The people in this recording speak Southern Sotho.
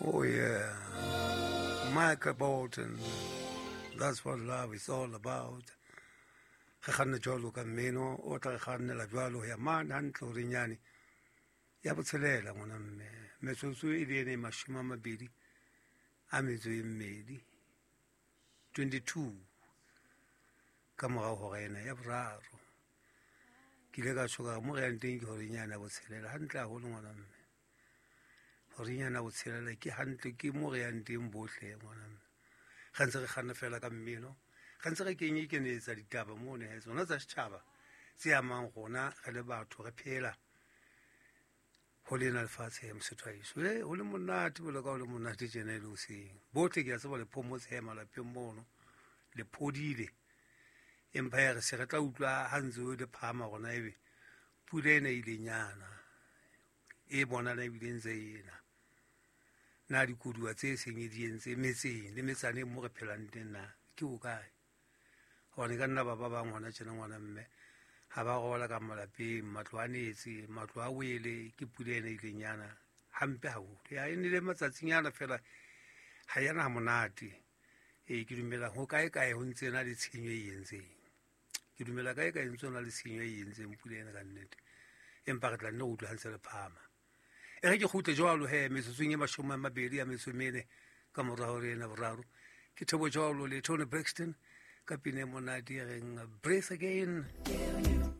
Oh yeah, Michael Bolton, that's what love is all about. Re kganne jwalo ka mmino o tla re kgannela jwalo ho ya mane hantle horeng yane ya botshelela ngwana mme. Metsotso e le ene 22, 22 ka morao hora ena ya boraro. Ke ile ka tjho ka mo re yang teng ke horeng yane ya botshelela hantle haholo ngwana mme. Horeng yane ya botshelela ke hantle ke mo re yang teng bohle ngwana mme. Re ntse re kganna fela ka mmino, re ntse re kenye kenetsa ditaba mono he, tsona tsa setjhaba tse amang rona re le batho re phela ho lena lefatshe mosotho wa heso. Ho le monate bolo ka ho le monate tjena e le hoseng. Bohle ke a tseba le phomotse he malapeng mono, le phodile. Empa ya re se re tla utlwa ha ntse o le phahama rona ebe pula ena e ile nyana, e bonahala ebile ntse ena. Na dikoduwa tse seng e di entse metseng le metsaneng mo re phelang teng na ke ho kae? Hobane ka nna ba ba bang hona tjena ngwana mme ha ba robala ka malapeng, matlo a netse, matlo a wele ke pula ena e ileng yana hampe haholo. Ya e nele matsatsinyana fela ha yana ha monate. Ee, ke dumela ho kae kae ho ntse na le tshenyo e entseng. Ke dumela kae kae ntse na le tshenyo e entseng pula ena ka nnete. Empa re tla nne re utlwe ha ntse le phahama. E re ke kgutle jwalo he metsotsong e 24 ka mora hora ena boraro. Ke Thabo jwalo le Toni Braxton ka pina e monate e reng Breathe Again.